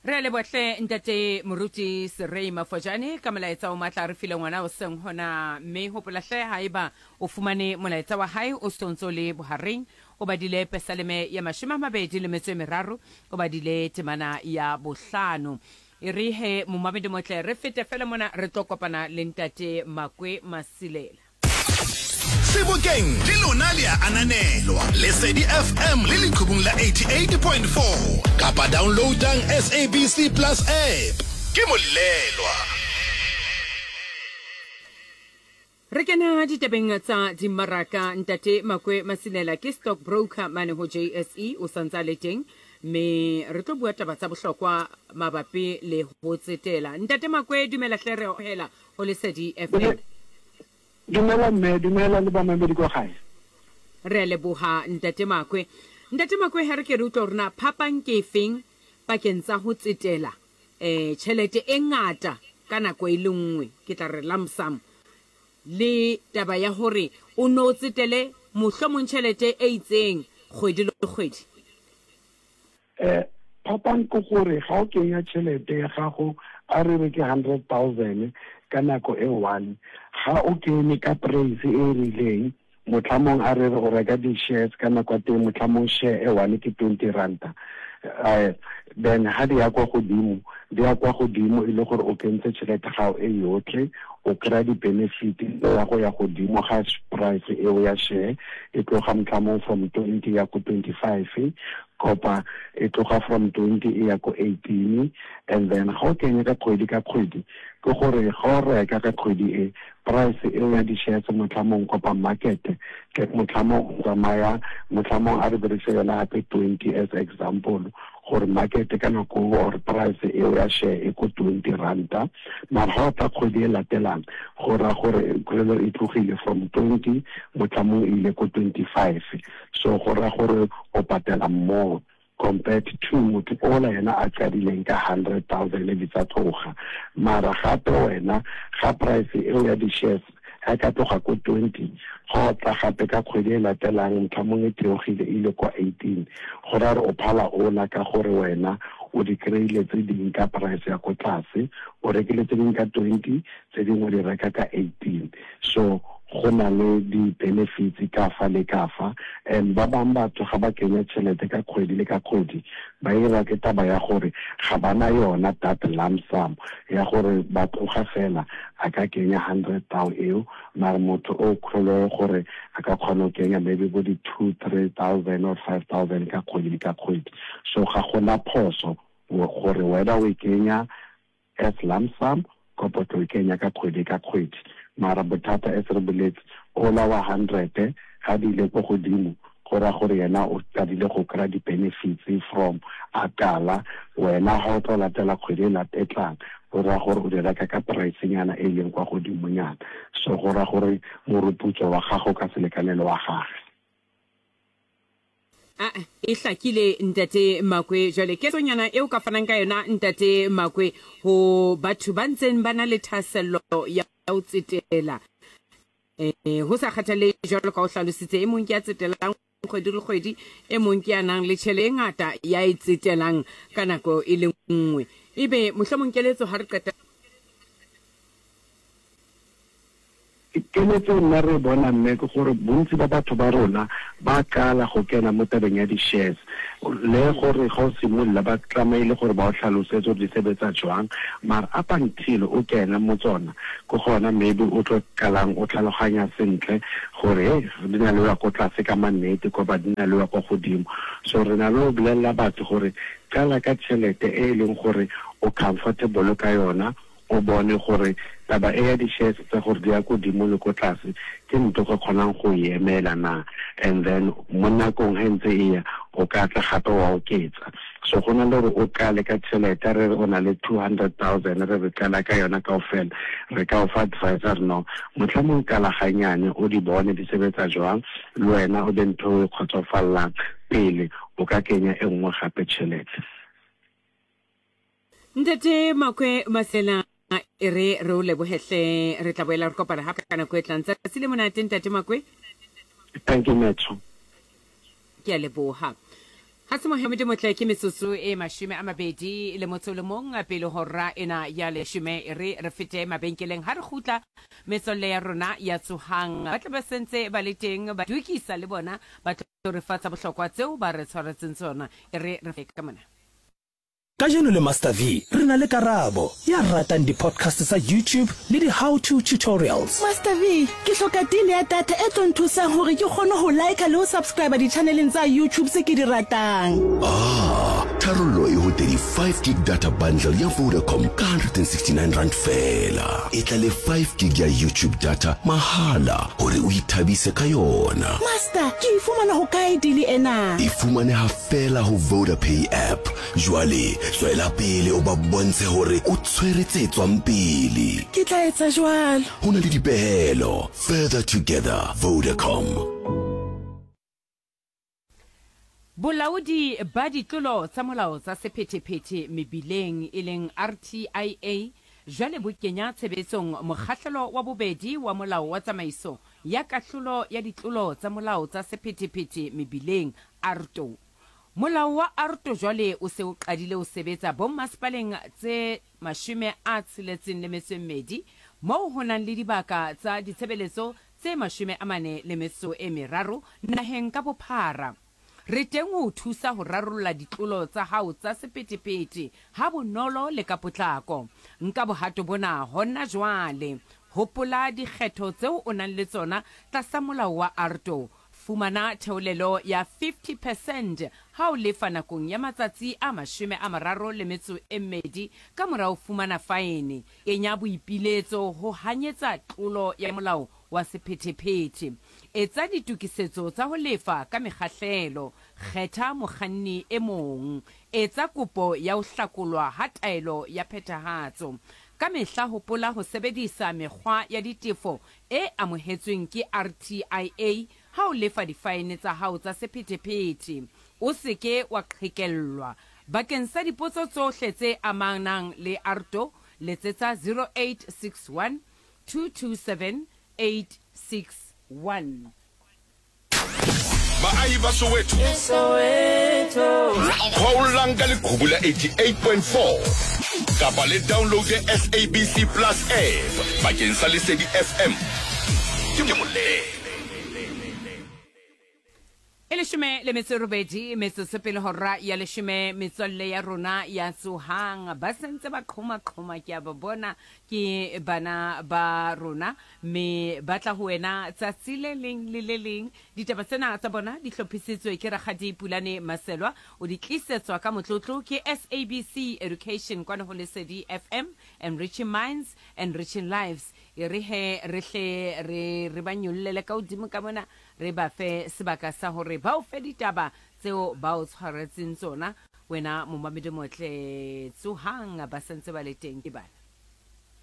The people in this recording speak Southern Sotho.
Re a leboha hle Ntate Moruti Serei Mafojane ka molaetsa o matla a re file ngwana o seng hona mme hopola hle haeba o fumane molaetsa wa hae o sontso le bohareng o badile pesaleme ya 23 o badile temana ya bohlano e re he momamedi motle re fete fela mona re tlo kopana le Ntate Makwe Masilela. Sebokeng le lona le a ananelwa. Lesedi FM le leqhubung la 88.4 kapa downloadang SABC Plus app. Ke molelwa. Re kena ditabeng tsa dimmaraka. Ntate Makwe Masinela ke stock broker mane ho JSE, o sa ntse a le teng mme re tlo bua taba tsa bohlokwa mabapi le ho tsetela. Ntate Makwe, dumela hle, re hela ho Lesedi FM. Dumela mme, dumela le bamamedi kwa gae. Re a leboha Ntate Makwe. Ntate Makwe, ha re ke re utlwa hore na phapang ke efeng pakeng tsa ho tsetela eh tjhelete e ngata ka nako e le nngwe, ke tla re lump sum, le taba ya hore o no tsetele mohlomong tjhelete e itseng kgwedi le kgwedi. Eh, phapang ke gore ga o kenya tšhelete ya gago a re re ke 100,000 ka nako e one, ga o kene ka price e e rileng, motlhamong a re re o reka di-shares ka nako ya teng, motlhamong share e one ke 20 ranta, eh, then ga di ya kwa godimo, di ya kwa godimo e le gore o kentse tšhelete gago e yotlhe, o kry-a di-benefit ya go ya godimo ga price eo ya share, e tloga motlhamong from 20 ya ko 25, kopa e tloga from 20 e ya ko 18. And then ga o kenya ka kgwedi ka kgwedi, ke gore ga o reka ka kgwedi e, price eo ya di-shares motlhamong kopa market ke motlhamong o tsamaya, motlhamong a re berekise yona gape 20 as example, gore market ka nako or price eo ya share e ko 20 ranta, mara ga o tla kgwedi e latelang, go raya gore kgwelo e tlogile from 20 motlhamong e ile ko 25. So go raya gore o patela more compared to motho ola yena a qadileng ka 100,000 di tsa tloga. Mara gape wena ga price eo ya di-shares ga e ka tloga ko 20, ga o tla gape ka kgwedi e latelang motlhamong e theogile e ile kwa 18, go raya gore o phala ola ka gore wena o di kry-ile tse ding ka price ya ko tlase, o rekile tse ding ka 20, tse dingwe o di reka ka 18. So go na le di-benefits ka fa le ka fa. And ba bang batho ga ba kenya tšhelete ka kgwedi le ka kgwedi, ba irwa ke taba ya gore ga ba na yona that lump sum ya gore ba tloga fela a ka kenya hundred thou eo, mara motho o kgolwe gore a ka kgona go kenya maybe bo di two, three thousand or 5,000 ka kgwedi le ka kgwedi. So ga gona phoso gore wena o e kenya as lump sum kapa o tlo e kenya ka kgwedi ka kgwedi. Mara bothata as re boletse, ola wa hundred ga di ile ko godimo, go raya gore yena o qadile go kry-a di-benefits from a qala. Wena ga o tlo latela kgwedi e e tlang, go raya gore o di reka ka price-nyana e leng kwa godimonyana. So go raya gore moruputso wa gago ka se lekane le wa gage. A e hlakile Ntate Makwe. Jwale ketsonyana eo ka fanang ka yona Ntate Makwe ho batho ba ntseng ba na le thahasello ya ho tsetela, eh, ho sa kgathale jwalo ka o hlalositse, e mong ke ya tsetelang kgwedi le kgwedi, e mong ke ya nang le tjhele e ngata ya e tsetelang ka nako e le nngwe, ebe mohlomong keletso ha re qeta? Keletso e nna re e bona mme ke gore bontsi ba batho ba rona ba qala go kena mo tabeng ya di-shares, le gore ga o simolola ba tlameile gore ba o tlhalosetse gore di sebetsa jwang, mara up until o kena mo tsona ke gona maybe o tlo qalang o tlhaloganya sentle gore he di na le go ya ko tlase ka mannete kopa di na le go ya kwa godimo. So re na le go bolelela batho gore qala ka tšhelete e e leng gore o comfortable ka yona, o bone gore taba e ya di-shares tsa gore di ya kodimo le ko tlase ke ntho ka kgonang go e emela na, and then mo nakong ge ntse e ya o ka tla gape wa oketsa. So go na le gore o qale ka tšhelete, re re o na le 200,000, re re qala ka yona kaofela, re ka o fa advice re no mohlomong qala ganyane o di bone di sebetsa jwang, le wena o be ntho o e kgotsofallang pele o ka kenya e nngwe gape tšhelete. Ntate Makwe Masela, e re re o lebohe hle, re tla boela re kopana gape ka nako e tlang. Tsatsi le monate Ntate Makwe. Thank you Metso. Ke a leboha. Ga se mohamedi motle ke metsotso e 21 pele hora ena ya leshome e re re fete mabenkeleng ha re kgutla metswalle ya rona ya tsohang ba tle ba sentse ba le teng ba dukisa le bona ba tlo re fa tsa bohlokwa tseo ba re tshwaretseng tsona e re re ka mona. Kajeno le Master V re na le Karabo, ya ratang di-podcast tsa YouTube le di-how to tutorials. Master V, ke hloka deal ya data e tlo nthusang hore ke kgone ho liker le ho subscriber di-channeleng tsa YouTube tse ke di ratang. Ah, tharollo e ho 35 gig data bundle ya Vodacom ka R169 feela. E tla le 5 gig ya YouTube data mahala hore o ithabise ka yona. Master, ke e fumana hokae deal ena? E fumaneha feela ho Vodapay app. Jwale tswela pele o ba bontshe hore o tshwere tse tswang pele. Ke tla etsa jwalo. Ho na le dipehelo. Further together, Vodacom. Bolaodi ba ditlolo tsa molao tsa sephethephethe mebileng e leng RTIA jwale bo kenya tshebetsong mokgahlelo wa bobedi wa Molao wa Tsamaiso ya Kahlolo ya Ditlolo tsa Molao tsa Sephethephethe Mebileng, ARTO. Molao wa ARTO jwale o se o qadile ho sebetsa bommasepaleng tse 62 moo ho nang le dibaka tsa ditshebeletso tse 43 naheng ka bophara. Re teng ho o thusa ho rarolla ditlolo tsa hao tsa sephethephethe ha bonolo le ka potlako. Nka bohato bona hona jwale. Hopola dikgetho tseo o nang le tsona tlasa molao wa ARTO. Fumana theolelo ya 50 percent ha o lefa nakong ya matsatsi a 32 ka mora ho fumana faene. Kenya boipiletso ho hanyetsa tlolo ya molao wa sephethephethe. Etsa ditokisetso tsa ho lefa ka mekgahlelo. Kgetha mokganni e mong. Etsa kopo ya ho hlakolwa ha taelo ya phethahatso. Ka mehla hopola ho sebedisa mekgwa ya ditefo e amohetsweng ke RTIA ha o lefa difaene tsa hao tsa sephethephethe. O se ke wa qhekellwa. Bakeng sa dipotso tsohle tse amanang le ARTO, letsetsa 0861 227 861. Baahi ba Soweto, kgwaollang ka leqhubu la 88.4 kapa le downloade SABC Plus app bakeng sa Lesedi FM. Ke molele. E leshome le metso e robedi metsotso pele hora ya leshome metswalle ya rona ya tsohang ba sentse ba qhoma-qhoma ke a ba bona ke bana ba rona mme ba tla ho wena tsatsi le leng le le leng ditaba tsena tsa bona di hlophisitswe ke rakgadi Pulane Maselwa o di tlisetswa ka motlotlo ke SABC Education kwano ho Lesedi FM enriching minds enriching lives e re he re hle re re ba nyollele ka hodimo ka mona Re ba fe sebaka sa hore ba o fe ditaba tseo ba o tshwaretseng tsona. Wena momamedi motle, tsohang, ba sa ntse ba le teng ke bana.